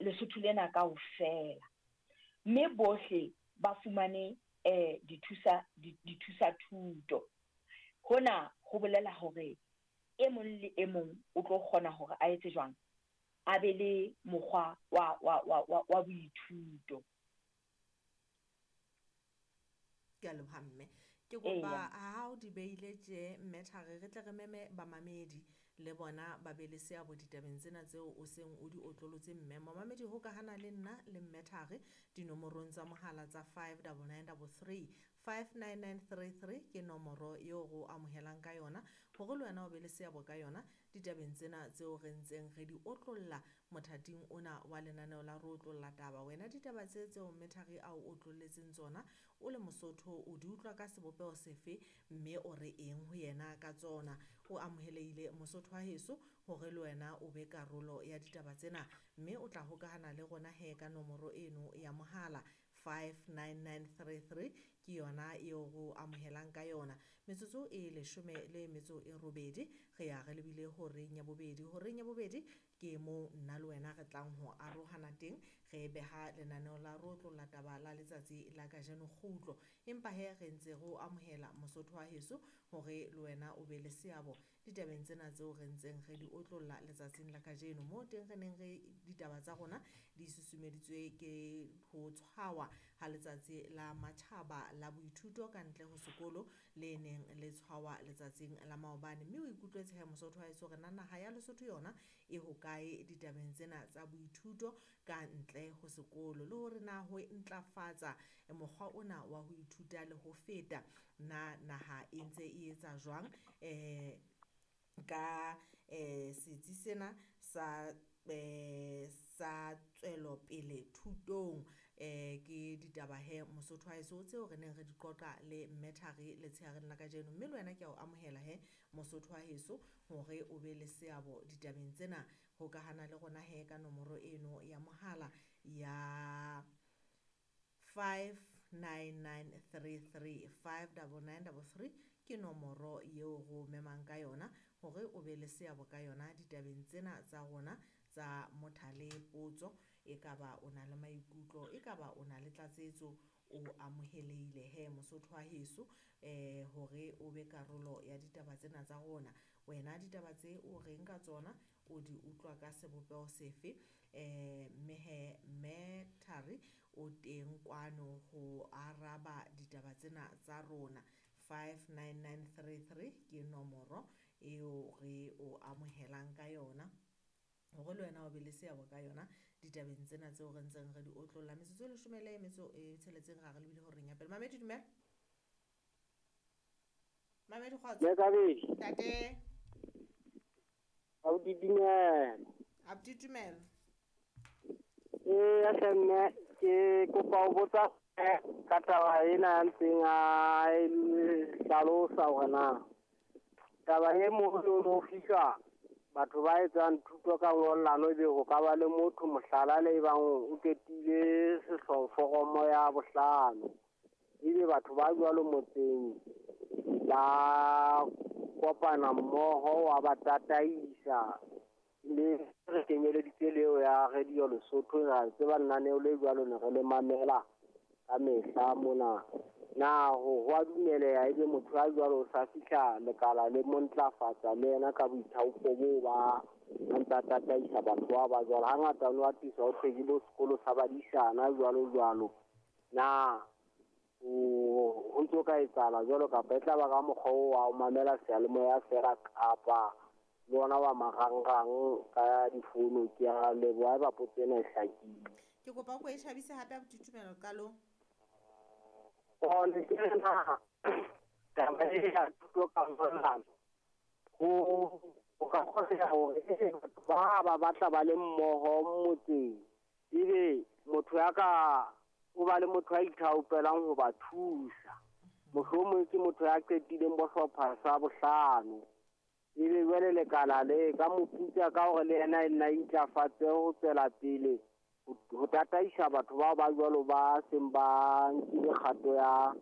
Lesotho lena kaofela, mme bohle ba fumane dithusa dithusa-thuto. Hona ho bolela hore e mong le e mong o tlo kgona hore a etse jwang? A be le mokgwa wa wa wa wa wa boithuto. Ke a leboha mme. Ke kopa ha o di beile tje mme Thari re tle re meme bamamedi le bona ba be le seabo ditabeng tsena tseo o seng o di otlolotse mme. Momamedi hokahana le nna le mme Thari dinomorong tsa mohala tsa 59933. 59933 ke nomoro eo re o amohelang ka yona hore le wena o be le seabo ka yona ditabeng tsena tseo re ntseng re di otlolla mothating ona wa lenaneo la Re Otlolla Taba. Wena ditaba tse tseo mme Thari a o otlolletseng tsona o le Mosotho o di utlwa ka sebopeho sefe mme o re eng ho yena ka tsona? O amohelehile Mosotho wa heso hore le wena o be karolo ya ditaba tsena mme o tla hokahana le rona he ka nomoro eno ya mohala 59933 ke yona eo re o amohelang ka yona. Metsotso e leshome le metso e robedi re ya re lebile horeng ya bobedi. Horeng ya bobedi ke moo nna le wena re tlang ho arohana teng re beha lenaneo la Re Otlolla Taba la letsatsi la kajeno kgutlo. Empa he re ntse re o amohela Mosotho wa heso hore le wena o be le seabo ditabeng tsena tseo re ntseng re di otlolla letsatsing la kajeno. Moo teng re neng re ditaba tsa rona di susumeditswe ke ho tshwawa ha letsatsi la matjhaba la boithuto ka ntle ho sekolo le neng le tshwawa letsatsing la maobane. Mme o ikutlwetse he Mosotho wa heso hore na naha ya Lesotho yona e hokae ditabeng tsena tsa boithuto ka ntle ho sekolo, le hore na ho ntlafatsa mokgwa ona wa ho ithuta le ho feta na naha e ntse e etsa jwang ka setsi sena sa sa tswelopele thutong. Ke ditaba he Mosotho wa heso tseo re neng re di qoqa le mme Thari letshehareng la kajeno. Mme le wena ke a o amohela he Mosotho wa heso hore o be le seabo ditabeng tsena. Hokahana le rona he ka nomoro eno ya mohala ya 59933 59933 ke nomoro eo re o memang ka yona hore o be le seabo ka yona ditabeng tsena tsa rona tsa mothale potso. Ekaba o na le maikutlo, ekaba o na le tlatsetso, o amohelehile he Mosotho wa heso hore o be karolo ya ditaba tsena tsa rona. Wena ditaba tse o reng ka tsona, o di utlwa ka sebopeho sefe? Mme he mme Thari o teng kwano ho araba ditaba tsena tsa rona. 59933 ke nomoro eo re o amohelang ka yona hore le wena o be le seabo ka yona ditabeng tsena tseo re ntseng re di otlolla. Metsotso e leshome le metso e tsheletseng ra re lebile horeng ya pele. Mamedi dumela. Mamedi kgotso. Lekabedi. Ntate. Abuti dumela. Abuti dumela. Ee, hle mme ke kopa ho botsa ka taba ena ya ntseng a e hlalosa hore na taba e moholo o fihla batho ba etsang thuto ka ngollano ebe ho ka ba le motho mohlala le ebang o qetile foromo ya bohlano, ebe batho ba jwalo motseng ba kopana mmoho wa ba tataisa le re kenyeleditse leo ya Radio Lesotho. Ra tseba lenaneo le jwalo ne re le mamela ka mehla mona. Na ho a dumeleha ebe motho a jwalo o sa fihla lekala le mo ntlafatsa le yena ka boithaopo boo ba ntsa tataisa batho ba ba jwalo? Hangata o atisa ho thwe ke bo sekolo sa badisana jwalo jwalo. Na ho ntso ka etsahala jwalo kapa e tla ba ka mokgwa oo wa ho mamela seyalemoya feela kapa le ona wa marangrang ka difounu? Ke a leboha haeba potso ena e hlakile. Ke kopa o ko e tjhabise hape abuti Tumelo qalong. Ne ke re na taba e ya thuto ka ngollano ho ka kgoneha hore batho ba ba batla ba le mmoho motseng, ebe motho ya ka o ba le motho a ithaopelang ho ba thusa, mohlomong ke motho ya qetileng bo hlopha sa bohlano, ebe jwale lekala le ka mo putsa ka hore le yena e nna intlafatse ho tswela pele ho tataisa batho bao ba jwalo ba seng ba nkile kgato ya